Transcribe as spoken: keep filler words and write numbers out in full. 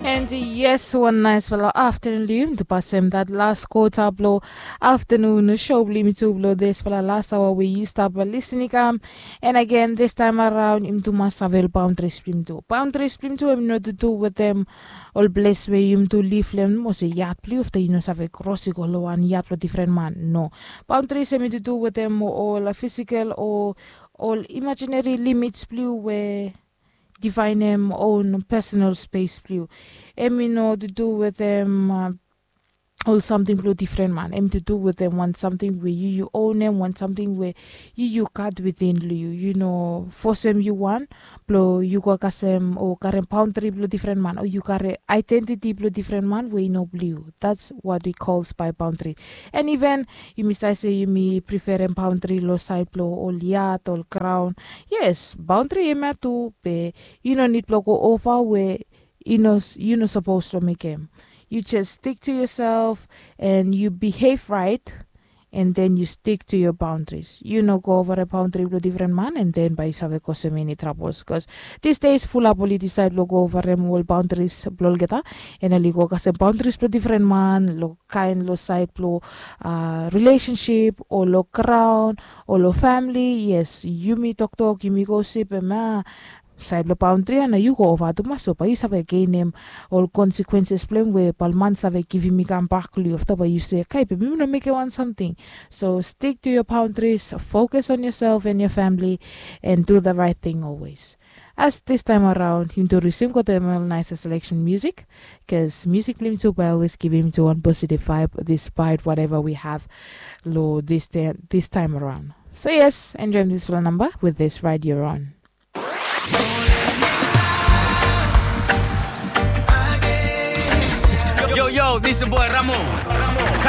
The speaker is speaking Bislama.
And yes, wan naisfala aftanun long yumi tu pasem dat las kota blong aftanun show blong yumi tu blong disfala las aoa we yu stap lisin i kam. And agen, distaem araon yumi tu mas save ol baundris blong yumi tu. Baundris blong yumi tu em i no tu du wetem ol ples we yumi tu liv long em, olsem yat blong yu afta yu no save kros i go long wan yat blong difren man. No. Baundris em i tu du wetem ol fisikel o ol imajineri limits blong yu we divaenem own pesenal spes blong yu. Em i no tu du wetem ol samting blong difren man. Em tu du wetem wan samting we yu yu onem, wan samting we yu yu gat witin long yu. Yu no fosem yu wan blong yu go kasem o karem baundri blong difren man o yu karem aedentiti blong difren man we i no blong yu. That's what we calls by baundri. And even yumi save se yumi preferem baundri long saed blong ol yat, ol graon. Yes, baundri hemia tu, be yu no nid blong go ova we yu no yu no sapos long mekem. Yu jes stik tu yoself and yu bihev raet, and then yu stik tu yo baundris. Yu no go ova ol baundri blong difren man, and then bae yu save kosem eni trabol, bikos disdes fulap oli disaed blong go ova ol baundris blong olgeta, and oli go kasem baundris blong difren man long kaen long saed blong rilesensip o long graon o long famili. Yes, yumi toktok, yumi gosip, hemia saed blong baundri ya nao yu go ova tumas, so bae yu save genem ol konsekwenses blong em we bae ol man save givim i kambak long yu. Afta bae yu se, kai, be mi no mekem wan samting. So stik tu yo baundris, fokus on yoself and yo famili, and du the raet ting olwes. As distaem araon yumi tu risim gotem ol naesa seleksen musik, bikos musik blong yumi tu bae olwes givim yumi tu wan positiv vaeb dispaet wateva wi have long distaem araon. So yes, enjoem disfala namba with this Ride Your Own. Yo, yo, this is boy Ramo.